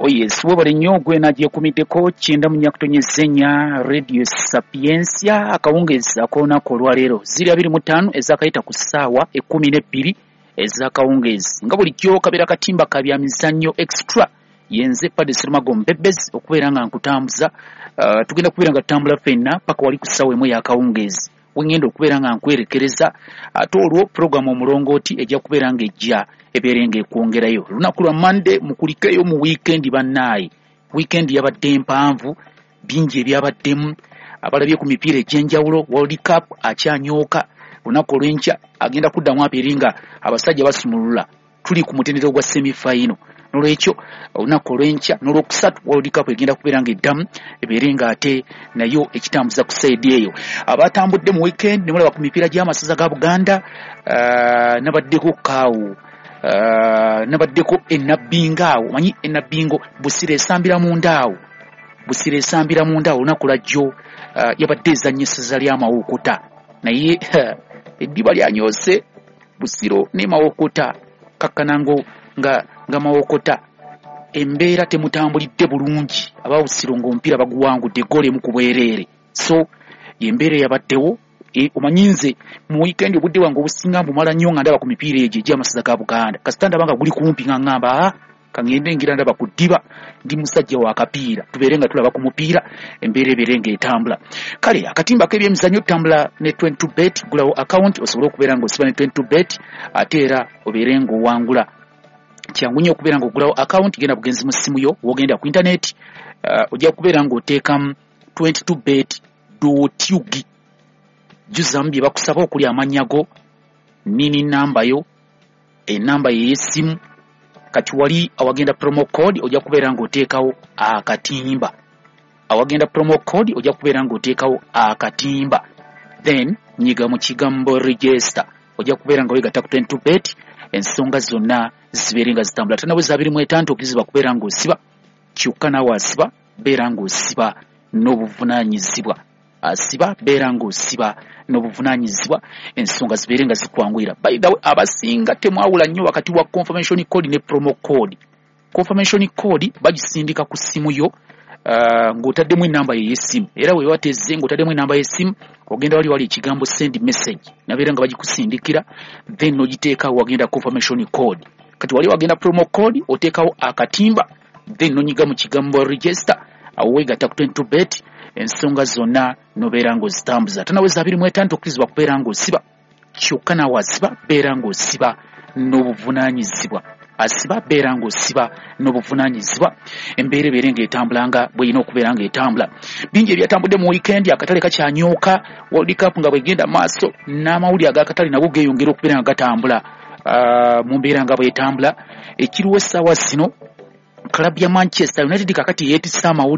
Oh yes, webale nnyo gwe nagyekumiddeko 94.4 Radio Sapientia akawungeezi ak'olunaku olwaleero ziri 25 ezakayita ku ssaawa 12 ez'akawungeezi. Nga bulijjo kabeera katimba ka bya mizannyo extra, yenze Padre Serumago Mbebezi okubeera nga nkutambuza. Tugenda kubeera nga tutambula ffenna paka wali ku ssaawa 1 ey'akawungeezi wengenda okubeera nga nkwerekereza, ate olwo puroguramu omulongooti ejja kubeera ng'ejja ebeere ng'ekwongerayo. Lunaku lwa Monday, mukulikeyo mu wiikendi bannaaye. Wiikendi yabadde mpanvu, bingi ebyabaddemu, abalabye ku mipiira egy'enjawulo. World Cup akyanyooka, lunaku olw'enkya agenda kuddamu abeere nga abasajja basumulula, tuli ku mutendera ogwa semi-final. Nolwekyo olunaku olw'enkya n'olwokusatu World Cup egenda kubeera ng'eddamu ebeere ng'ate nayo ekitambuza ku sayidi eyo. Abatambudde mu weekend ne mulaba ku mipiira gy'amasaza ga Buganda, nabaddeko kaawo, nabaddeko enabbingo awo, omanyi enabbingo Busiro esambira munda awo, Busiro esambira munda awo. Olunaku lwajjo yabadde ezannya essaza ly'Amawokota, naye eddiba lyanyoose Busiro ne Mawokota, kakkanango nga Mawokota embeera temutambulidde bulungi, aba Busiro ng'omupiira baguwangudde eggoolo emu ku bwereere. So y'embeera eyabaddewo. Omanyi nze mu weekend obudde bwange obusinga mbumala nnyo nga ndaba ku mipiira egyo egy'amasaza ga Buganda. Kasita ndaba nga guli kumpi nga ŋŋamba, aa kaŋŋende ngira ndaba ku ddiba, ndi musajja wa kapiira, tubeere nga tulaba ku mupiira, embeera ebeere ng'etambula. Kale akatimba k'ebyemizannyo tutambula ne 22 bet, gulawo account osobole okubeera ng'osiba ne 22 bet, ate era obeere ng'owangula. Kyangu nnyo okubeera ng'ogulawo account, genda bugenzi mu ssimu yo, w'ogenda ku internet, ojja kubeera ng'oteekamu 22 bet dot ug, jjuzamu bye bakusaba okuli amannya go, nini namba yo, enamba ye y'essimu. Kati wali awagenda promo code ojja kubeera ng'oteekawo akatimba, awagenda promo code ojja kubeera ng'oteekawo akatimba, then nyiga mu kigambo register, ojja kubeera nga weegatta ku 22 bet, ensonga zonna zibeere nga zitambula. Tanaweza 25 okkirizibwa kubeera ng'osiba, kyokka naawe asiba beera ng'osiba n'obuvunaanyizibwa, asiba beera ng'osiba n'obuvunaanyizibwa, ensonga zibeere nga zikwanguyira. By the way, abasinga temwawula nnyo wakati wa confirmation code ne promo code. Confirmation code bagisindika ku ssimu yo, ng'otaddemu enamba ye y'essimu, era bwe batezze ng'otaddemu enamba y'essimu, ogenda wali ekigambo send message, nabeera nga bagikusindikira, then n'ogiteekawo wagenda confirmation code. Kati wali wagenda promo code oteekawo akatimba, then n'onyiga mu kigambo register, awo weegatta ku 22 bet, ensonga zonna nobeera ng'ozitambuza. Tanaweza 25 okkirizibwa kubeera ng'osiba, kyokka naawe asiba beera ng'osiba n'obuvunaanyizibwa, asiba beera ng'osiba n'obuvunaanyizibwa, embeera ebeere ng'etambula nga bw'erina okubeera ng'etambula. Bingi ebyatambudde mu weekend, akatale kakyanyooka, World Cup nga bw'egenda maaso, n'amawulire ag'akatale nago geeyongera okubeera nga gatambula, mu mbeera nga bw'etambula. Ekiriwo essaawa zino, club ya Manchester United kakati yeetisse amawulire.